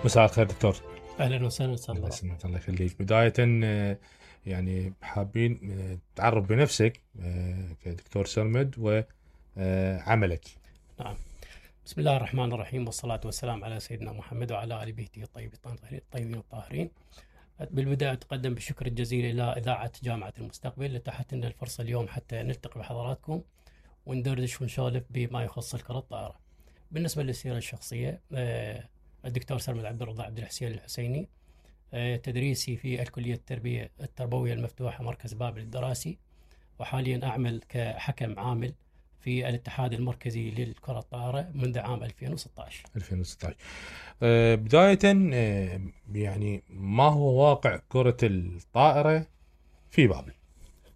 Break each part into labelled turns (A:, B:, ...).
A: مساء الخير دكتور.
B: اهلا وسهلا.
A: الله يخليك. بداية يعني حابين تعرف بنفسك كدكتور سرمد وعملك.
B: نعم. بسم الله الرحمن الرحيم، والصلاة والسلام على سيدنا محمد وعلى آل بيته الطيبين الطاهرين. بالبداية أتقدم بالشكر الجزيل إلى إذاعة جامعة المستقبل اللي اتاحت لنا الفرصة اليوم حتى نلتقي بحضراتكم وندردش ونسولف بما يخص الكرة الطائرة. بالنسبة للسيرة الشخصية، الدكتور سرمد عبد الرضا عبد الحسين الحسيني، تدريسي في الكلية التربوية المفتوحة مركز بابل الدراسي، وحاليا أعمل كحكم عامل في الاتحاد المركزي للكرة الطائرة منذ عام 2016.
A: بداية يعني ما هو واقع كرة الطائرة في بابل؟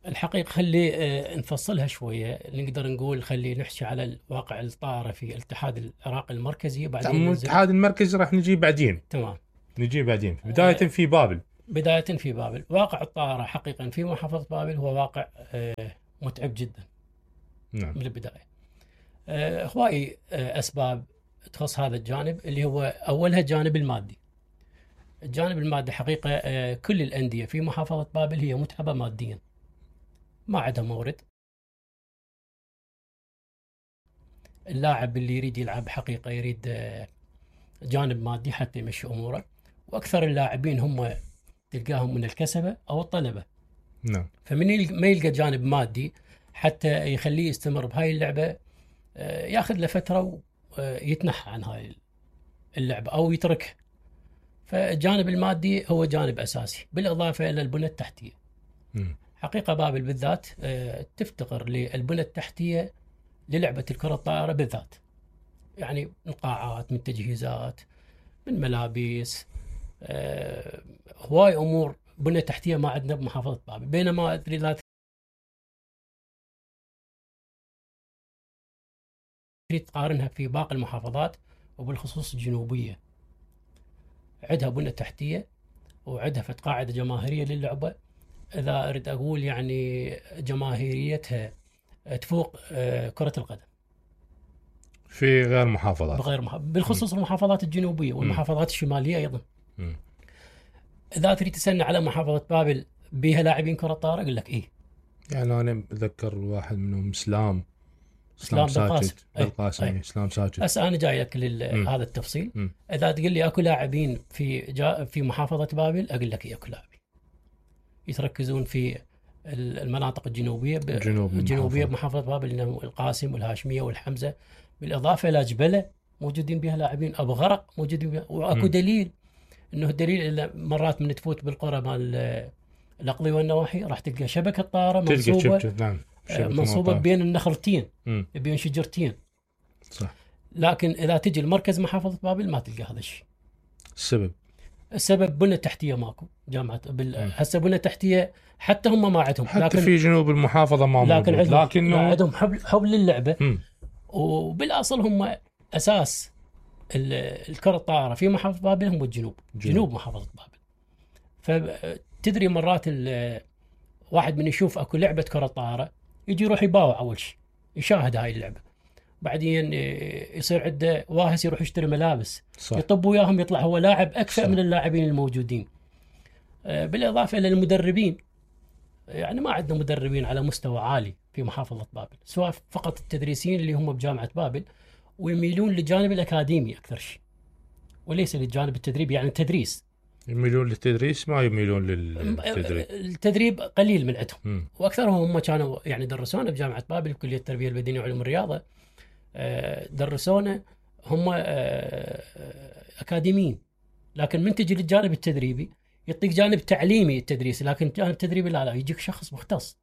B: الحقيقة خلي نفصلها شوية، نقدر نقول خلي نحكي على واقع الطائرة في الاتحاد العراقي المركزي،
A: بعدين الاتحاد المركزي راح نجي بعدين.
B: تمام،
A: نجي بعدين. بداية في بابل.
B: واقع الطائرة حقيقة في محافظة بابل هو واقع متعب جدا.
A: نعم.
B: من البداية هواي أسباب تخص هذا الجانب، اللي هو أولها الجانب المادي. الجانب المادي حقيقة كل الأندية في محافظة بابل هي متعبة ماديا، ما عندها مورد. اللاعب اللي يريد يلعب حقيقة يريد جانب مادي حتى يمشي أموره، وأكثر اللاعبين هم تلقاهم من الكسبة أو الطلبة.
A: نعم.
B: فمن ما يلقى جانب مادي حتى يخليه يستمر بهاي اللعبة، ياخذ له فترة ويتنحى عن هاي اللعبة أو يتركها. فالجانب المادي هو جانب أساسي، بالإضافة إلى البنى التحتية. حقيقة بابل بالذات تفتقر للبنى التحتية للعبة الكرة الطائرة بالذات، يعني من قاعات، من تجهيزات، من ملابس، هواي أمور بنى تحتية ما عندنا بمحافظة بابل. بينما أدري لا تريد تقارنها في باقي المحافظات، وبالخصوص الجنوبية عندها بنى تحتية وعندها قاعدة جماهيرية للعبة. إذا أريد أقول يعني جماهيريتها تفوق كرة القدم
A: في غير محافظات.
B: بالخصوص المحافظات الجنوبية والمحافظات الشمالية أيضا. إذا تريد تسألني على محافظة بابل بها لاعبين كرة طائرة أقول لك إيه.
A: يعني أنا أتذكر واحد منهم إسلام
B: بالقاسم.
A: إسلام ساجد.
B: هسه أنا جاي لك هذا التفصيل. إذا تقول لي أكو لاعبين في محافظة بابل أقول لك إيه، أكو لاعبين يتركزون في المناطق الجنوبية بمحافظة بابل، إنه القاسم والهاشمية والحمزة، بالإضافة إلى جبلة موجودين بها لاعبين، أبو غرق موجودين بها. وأكو دليل، إنه الدليل إلا مرات من تفوت بالقرى مال الأقضي والنواحي راح تلقى شبكة طائرة منصوبة بين النخلتين، بين شجرتين.
A: صح.
B: لكن إذا تجي المركز محافظة بابل ما تلقى هذا الشيء.
A: السبب
B: بنى تحتية ماكو. جامعة هسه بنى تحتية حتى هم ما عندهم،
A: حتى لكن في جنوب المحافظة ما موجود،
B: لكن عندهم حب للعبة. وبالأصل هم أساس الكرة الطائرة في محافظة بابل هم جنوب محافظة بابل. فتدري مرات واحد من يشوف أكو لعبة كرة طائرة يجي يروح يباوع أول شيء، يشاهد هاي اللعبة، بعدين يصير عنده واهس يروح يشتري ملابس. صح. يطب وياهم يطلع هو لاعب أكثر. صح. من اللاعبين الموجودين. بالإضافة إلى المدربين، يعني ما عندنا مدربين على مستوى عالي في محافظة بابل، سواء فقط التدريسيين اللي هم بجامعة بابل، ويميلون للجانب الأكاديمي أكثر شيء وليس للجانب التدريبي، يعني التدريس.
A: يميلون للتدريس ما يميلون للتدريب.
B: التدريب قليل من عندهم. وأكثرهم هم كانوا يعني درسونا بجامعة بابل كلية التربية البدنية وعلوم الرياضة، درسونا هم أكاديميين. لكن من تجي للجانب التدريبي يعطيك جانب تعليمي التدريس، لكن جانب تدريبي لا يجيك شخص مختص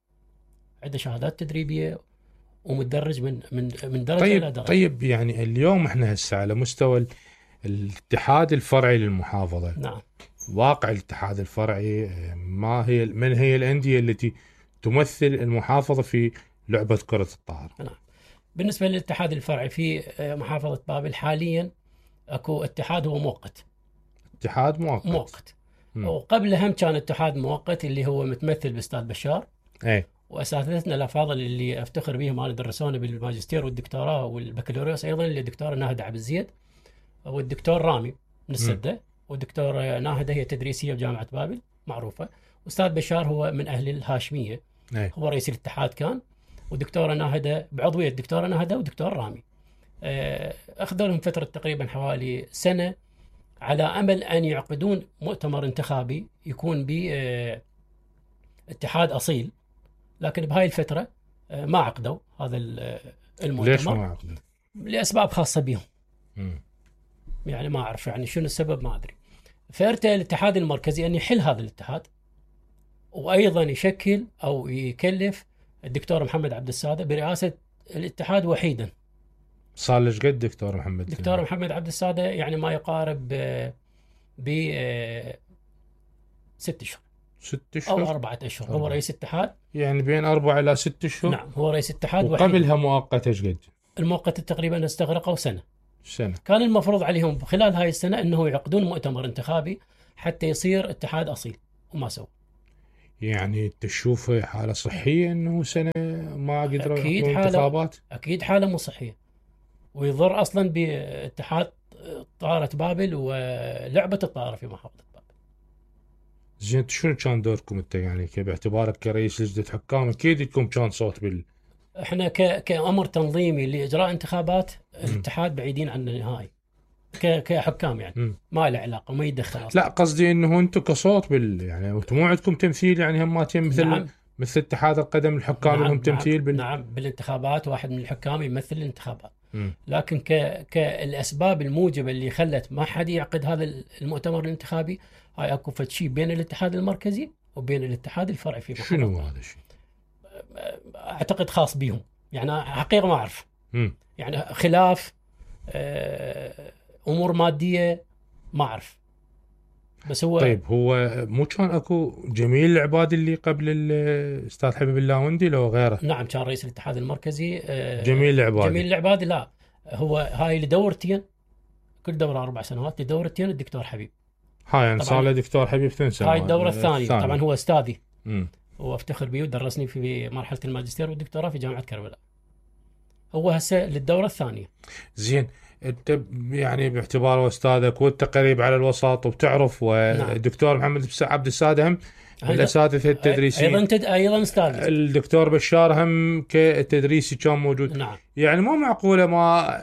B: عنده شهادات تدريبية ومتدرج من درجة إلى درجة.
A: طيب يعني اليوم احنا هسه على مستوى الاتحاد الفرعي للمحافظة.
B: نعم.
A: واقع الاتحاد الفرعي، من هي الأندية التي تمثل المحافظة في لعبة كرة الطائرة؟
B: نعم. بالنسبة للاتحاد الفرعي في محافظة بابل حاليا اكو اتحاد هو مؤقت.
A: اتحاد مؤقت.
B: وقبل هم كان اتحاد مؤقت اللي هو متمثل باستاذ بشار. واساتذتنا الافاضل اللي افتخر بهم انا درسونا بالماجستير والدكتوراه والبكالوريوس ايضا، اللي الدكتور ناهد عبد الزيد والدكتور رامي من السده. ودكتورة ناهدة هي تدريسية بجامعة بابل معروفة. أستاذ بشار هو من أهل الهاشمية، هو رئيس الاتحاد كان. ودكتورة ناهدة بعضوية دكتورة ناهدة ودكتور رامي. أخذوا لهم فترة تقريبا حوالي سنة على أمل أن يعقدون مؤتمر انتخابي يكون باتحاد أصيل، لكن بهاي الفترة ما عقدوا هذا المؤتمر.
A: ليش ما عقدوا؟
B: لأسباب خاصة بهم. يعني ما أعرف يعني شنو السبب، ما أدري. فارتأى الاتحاد المركزي أن يحل هذا الاتحاد، وأيضا يشكل أو يكلف الدكتور محمد عبد السادة برئاسة الاتحاد وحيدا.
A: صار ليش قد دكتور محمد؟
B: دكتور محمد عبد السادة يعني ما يقارب ب 6 أشهر
A: 6 أشهر
B: أو 4 أشهر. هو رئيس اتحاد،
A: يعني بين 4 إلى 6 أشهر.
B: نعم هو رئيس اتحاد.
A: وقبلها مؤقتة ايش قد؟
B: المؤقتة تقريبا استغرقوا سنة.
A: سنة.
B: كان المفروض عليهم خلال هاي السنة أنه يعقدون مؤتمر انتخابي حتى يصير اتحاد أصيل، وما سووا.
A: يعني تشوف حالة صحية أنه سنة ما قدروا يعقدون انتخابات؟
B: أكيد حالة مو صحية، ويضر أصلا باتحاد طائرة بابل ولعبة الطائرة في محافظة بابل.
A: زين شنو كان دوركم انت يعني باعتبارك كرئيس لجنة حكام؟ اكيد لكم كان صوت
B: احنا كأمر تنظيمي لإجراء انتخابات الاتحاد بعيدين عن النهائي كحكام يعني. ما له علاقة وما يدخل أصلاً.
A: لا قصدي انه انتم كصوت يعني انتم مو عندكم تمثيل يعني هماتين مثل
B: نعم.
A: مثل اتحاد القدم الحكام لهم تمثيل
B: نعم بالانتخابات واحد من الحكام يمثل الانتخابات. لكن كالأسباب الموجبة اللي خلت ما حد يعقد هذا المؤتمر الانتخابي، هاي اكو شيء بين الاتحاد المركزي وبين الاتحاد الفرعي في محافظة.
A: شنو هذا الشيء؟
B: اعتقد خاص بيهم يعني، حقيقة ما اعرف. يعني خلاف امور مادية ما اعرف. بس هو
A: طيب هو مو كان اكو جميل العباد اللي قبل الاستاذ حبيب اللاوندي لو غيره؟
B: نعم كان رئيس الاتحاد المركزي
A: جميل العباد.
B: جميل العباد. لا هو هاي لدورتين، كل دورة 4 سنوات، لدورتين الدكتور حبيب.
A: هاي يعني صار له دكتور حبيب 2 سنوات.
B: هاي الدورة الثانية. طبعا هو استاذي وافتخر به ودرسني في مرحلة الماجستير والدكتوراه في جامعة كربلاء. هو هسه للدورة الثانية.
A: زين انت يعني باعتباره استاذك وانت قريب على الوسط وبتعرف، والدكتور محمد عبد السادة هم الاساتذه التدريسيين،
B: ايضا استاذ
A: الدكتور بشار هم كتدريسي كان موجود.
B: نعم.
A: يعني مو معقوله ما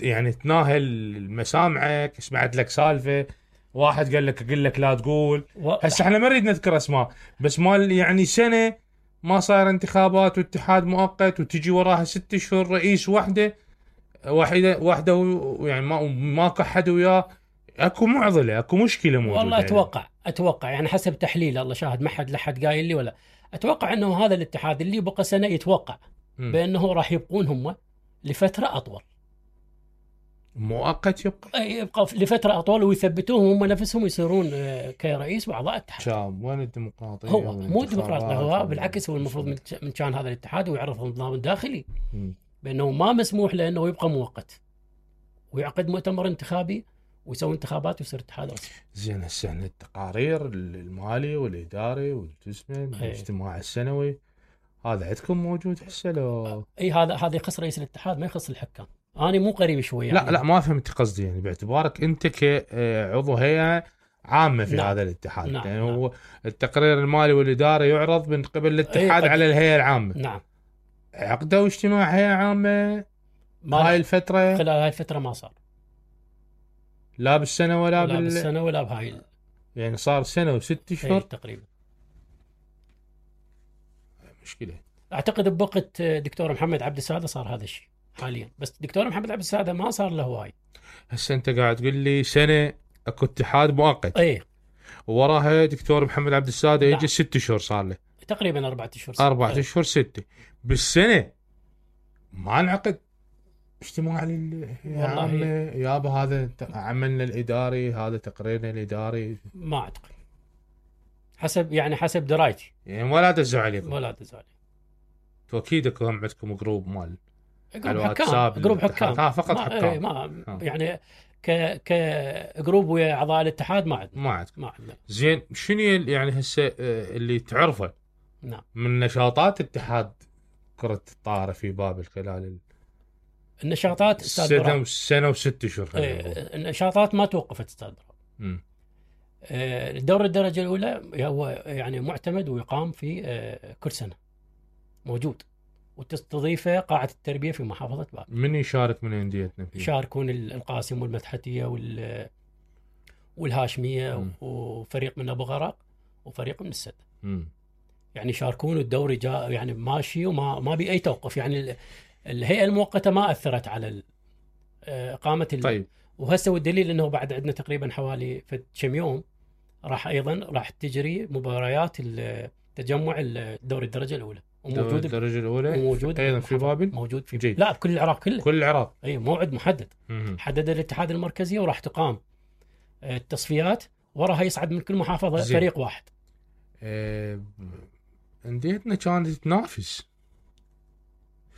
A: يعني تناهل مسامعك، سمعت لك سالفه واحد قال لك لا تقول. هسه احنا ما نريد نذكر اسماء، بس مال يعني سنه ما صاير انتخابات واتحاد مؤقت وتجي وراها 6 اشهر رئيس واحده يعني ما كحد وياه. اكو معضله، اكو مشكله موجوده.
B: والله اتوقع يعني حسب تحليل، الله شاهد ما حد لحد قايل لي ولا. اتوقع انه هذا الاتحاد اللي بقى سنه يتوقع بانه راح يبقون هم لفتره اطول.
A: مؤقت
B: يبقى لفتره اطول ويثبتوهم هم نفسهم يصيرون كرئيس واعضاء اتحاد.
A: وين الديمقراطيه؟
B: هو مو ديمقراطيه، هو بالعكس هو المفروض من كان هذا الاتحاد ويعرف النظام الداخلي بانه ما مسموح له انه يبقى مؤقت ويعقد مؤتمر انتخابي ويسوي انتخابات ويصير اتحاد اصلي.
A: زين هسه التقارير المالي والاداري والاجتماع السنوي هذا عندكم موجود هسه لو؟
B: اي هذا يخص رئيس الاتحاد ما يخص الحكام. انا مو قريب شوي يعني.
A: لا ما فهمت قصدي، يعني باعتبارك انت كعضو هيئه عامه في هذا الاتحاد. يعني هو التقرير المالي والاداري يعرض من قبل الاتحاد على الهيئه العامه.
B: نعم.
A: عقدوا اجتماع هيئه عامه هاي الفتره؟
B: خلال هاي الفتره ما صار،
A: لا بالسنه ولا
B: بالسنه ولا بهاي
A: يعني صار سنه و6 اشهر
B: تقريبا.
A: مشكله.
B: اعتقد بوقت دكتور محمد عبد السادة صار هذا الشيء حاليا، بس دكتور محمد عبد السادة ما صار له هواي.
A: هسه انت قاعد تقول لي سنه اكو اتحاد مؤقت، وراها دكتور محمد عبد السادة يجي 6 اشهر صار له
B: تقريبا 4 اشهر
A: 4 اشهر 6 بالسنه ما انعقد اجتماع للعامة يابا؟ هذا عملنا الاداري، هذا تقريرنا الاداري.
B: ما اعتقد، حسب درايتي
A: يعني ولا دزوا عليكم؟
B: ولا دزوا عليكم.
A: اكيد هم عندكم جروب مال
B: جروب حكام
A: فقط حكام.
B: يعني كجروب ويا اعضاء الاتحاد ما عندنا.
A: زين شنو يعني هسه اللي تعرفه
B: نعم
A: من نشاطات اتحاد كرة الطائرة في بابل خلال
B: النشاطات؟
A: سنة و6 اشهر.
B: النشاطات ما توقفت استاذ. الدوري الدرجة الأولى هو يعني معتمد ويقام في كل سنة موجود، وتستضيفه قاعة التربية في محافظة بابل.
A: من يشارك من أنديتنا فيه؟
B: يشاركون القاسم والمدحتية والهاشمية وفريق من أبو غرق وفريق من السد. يعني يشاركون، الدوري جاء يعني ماشي وما بي أي توقف. يعني الهيئة المؤقتة ما أثرت على إقامة
A: طيب.
B: وهسه والدليل أنه بعد عندنا تقريبا حوالي كم يوم راح تجري مباريات التجمع الدوري الدرجة الأولى،
A: وموجود الدرجة الأولى
B: وموجود
A: أيضا في بابل،
B: موجود في جيد. لا بكل العراق كله،
A: كل العراق.
B: أي موعد محدد حدد الاتحاد المركزي، وراح تقام التصفيات وراها يصعد من كل محافظة فريق واحد.
A: أنديتنا كانت تنافس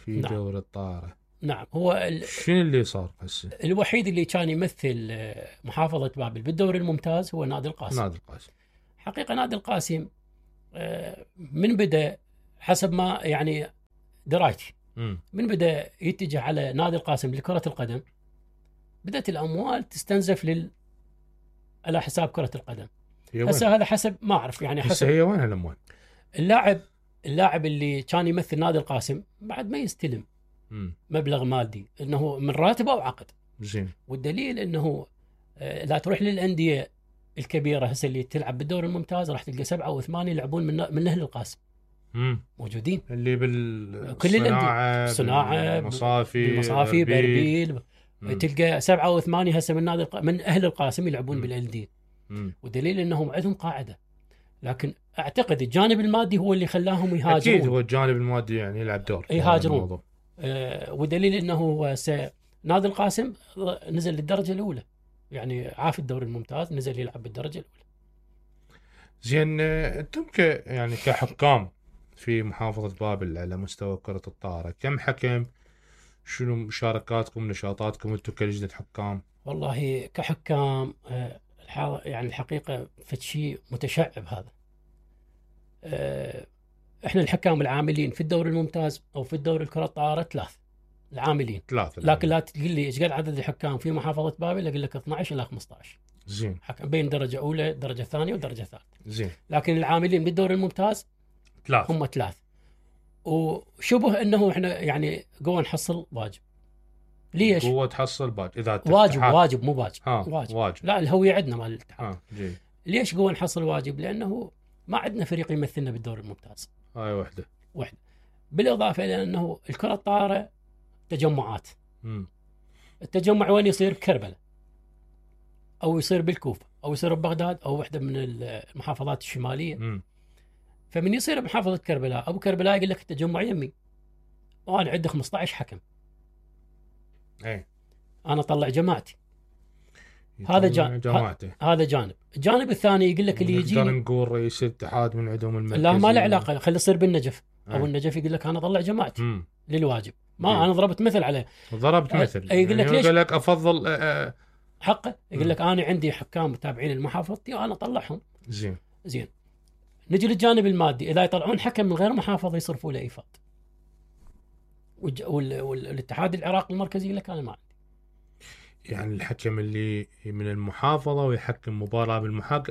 A: في
B: نعم.
A: دوري الطائرة.
B: نعم. هو
A: شنو اللي صار هسه؟
B: الوحيد اللي كان يمثل محافظة بابل بالدوري الممتاز هو نادي القاسم.
A: نادي القاسم
B: حقيقة نادي القاسم من بدأ حسب ما يعني درايتي من بدأ يتجه على نادي القاسم لكرة القدم، بدأت الأموال تستنزف على حساب كرة القدم. هسه هذا حسب ما أعرف، يعني حسب
A: هي وين الأموال.
B: اللاعب اللي كان يمثل نادي القاسم بعد ما يستلم مبلغ مادي، انه من راتبه او عقد.
A: زين.
B: والدليل انه لا تروح للانديه الكبيره هسه اللي تلعب بالدوري الممتاز راح تلقى 7 و8 يلعبون من اهل القاسم. موجودين
A: اللي
B: بالصناعه مصافي بربيل، تلقى 7 و8 هسه من اهل القاسم يلعبون بالانديه. والدليل انهم عندهم قاعده، لكن اعتقد الجانب المادي هو اللي خلاهم يهاجرون.
A: اكيد هو الجانب المادي يعني يلعب دور،
B: يهاجرون. ودليل انه نادي القاسم نزل للدرجه الاولى، يعني عاف الدوري الممتاز نزل يلعب بالدرجه الاولى.
A: زين، انتم يعني كحكام في محافظه بابل على مستوى كره الطائره، كم حكم؟ شنو مشاركاتكم، نشاطاتكم انتم كلجنه حكام؟
B: والله كحكام يعني الحقيقه فشي متشعب هذا. احنا الحكام العاملين في الدوري الممتاز او في الدوري الكره الطائره 3 العاملين. لكن لا تقول لي ايش قد عدد الحكام في محافظه بابل، اقول لك 12 الى 15.
A: زين.
B: حكم بين درجه اولى درجه ثانيه ودرجه ثالثه.
A: زين.
B: لكن العاملين بالدوري الممتاز
A: 3
B: هم 3. وشبه انه احنا يعني قوه نحصل واجب. ليش؟
A: قوه تحصل باج اذا
B: واجب مو باج. واجب. لا الهويه عندنا مال الاتحاد.
A: جيد.
B: ليش قوه نحصل واجب؟ لانه ما عندنا فريق يمثلنا بالدوري الممتاز.
A: هاي وحده.
B: بالاضافه الى انه الكره الطائره تجمعات. التجمع وين يصير؟ بكربلاء او يصير بالكوفه او يصير ببغداد او واحده من المحافظات الشماليه. فمن يصير بمحافظه كربلاء، ابو كربلاء يقول لك التجمع يمي وانا عندي 15 حكم. انا اطلع جماعتي. هذا جانب. هذا جانب. الجانب الثاني يقول لك اللي يجي
A: نقدر نقول رئيس الاتحاد من عندهم المركزي.
B: لا ما له علاقه، خلي يصير بالنجف. او النجف يقول لك انا اطلع جماعتي للواجب. ما انا ضربت مثل عليه.
A: ضربت مثل.
B: يقول لك ليش؟
A: يقول لك افضل
B: حقه. يقول لك انا عندي حكام متابعين لمحافظتي وانا اطلعهم. زين. نجي للجانب المادي، اذا يطلعون حكم من غير محافظه يصرفوا له ايفاد. والاتحاد العراقي المركزي يقول لك انا ما عندي.
A: يعني الحكم اللي من المحافظه ويحكم مباراه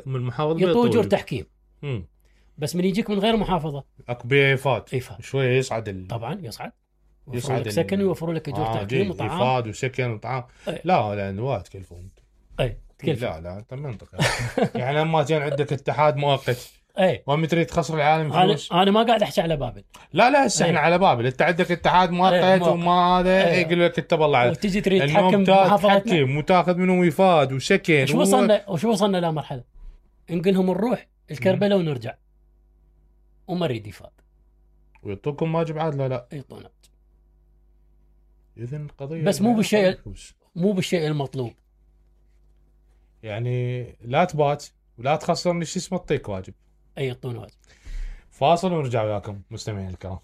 A: من المحافظه
B: يعطوا اجور تحكيم. بس من يجيك من غير محافظه
A: اكبر ايفاد شويه يصعد
B: طبعا يصعد لك سكن ويوفروا لك اجور تحكيم وطعام.
A: ايفاد وسكن وطعام. لا لان وايد تكلفون. لا انت منطقه. يعني لما كان عندك اتحاد مؤقت وما تريد تخسر العالم فلوس.
B: انا ما قاعد احكي على بابل.
A: لا هسه احنا على بابل. انت عندك اتحاد مؤقت وما هذا يقول لك انت والله على
B: وتجي تريد تحكم محافظتنا
A: وتاخذ منهم ايفاد وسكن.
B: وشو وصلنا لمرحله نقولهم نروح الكربلاء ونرجع وما نريد ايفاد
A: ويعطوكم واجب عاد. لا
B: يعطونا
A: اذن قضيه
B: بس مو بالشيء المطلوب.
A: يعني لا تبات ولا تخسرني شو اسمه، اعطيك واجب.
B: يعطونا واجب.
A: فاصل ونرجع وياكم مستمعين الكرام.